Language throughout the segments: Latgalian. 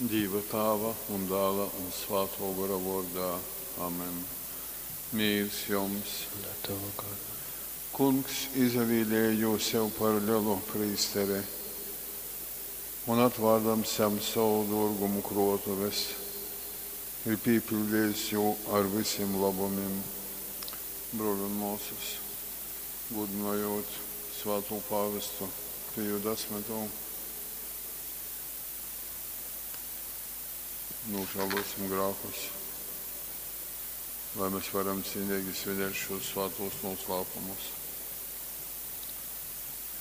Dīva Tāva un Dāla un Svātō Gora vōrdā. Amen. Mīrs jums! Un ar tavu goru. Kungs izavīlēja jū sev par lelu prīsteri un, atvārdams jam sovu dōrgumu krōtuves, ir pīpiļdejis jū ar visim lobumim. Brōli un mōsas, gūdynojūt svātū pāvestu Piju X, nūžālōsim grākus, lai mēs varam cīnīgi svinēt šos svātos noslēpumus.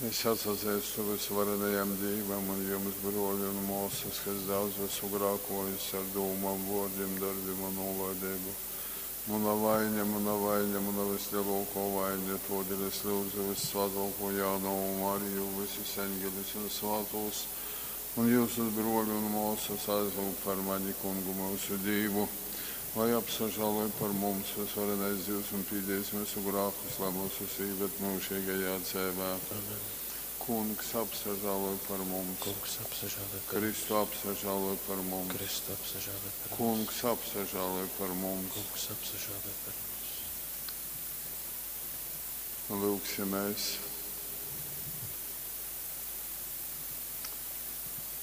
Es atsazeistu vysvarenajam Dīvam un jums, brōļi un mōsas, ka es daudz esmu grākojis ar dūmām, vōrdim, darbim un nūlaideibu. Muna vaine, muna vaine, muna vislielākā vaine, todēļ es lūdzu vyssvātōko Jaunovu Mariju, visus eņģeļus un svātos, un jūsus, brōļi un mōsas, aizlūgt par mani Kungu myusu Dīvu, lai apsažāloj par mums vysvarenais Dīvs un pīdīs myusu grākus, lai myusus īved myužīgajā dzeivē. Amen. Kungs apsažāloj par mums. Kungs apsažāloj par mums. Kristu apsažāloj par mums. Kristu apsažāloj par mums. Kungs apsažāloj par mums. Kungs apsažāloj par mums. Lūgsimies.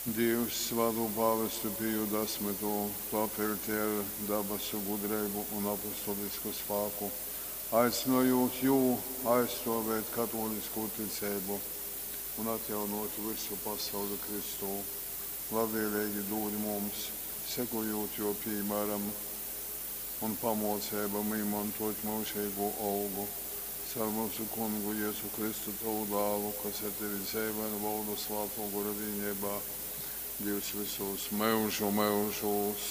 Dievs svātū pāvestu Piju X tu apvelti ar dabasu gudreibu un apostolisku spāku, aicinojot jū aizstāvēt katolisko ticību un atjaunot visu pasauli Kristū. Labvēlīgi dod mums, sekojot jo piemēram un pamōcībām, īmantot mūžīgo olgu. Caur mūsu kungu Jēzu Kristu, tavu dālu, kas ar tevi dzeivoj un valda svātō gora vienībā, Dievs visos mūžu mūžos.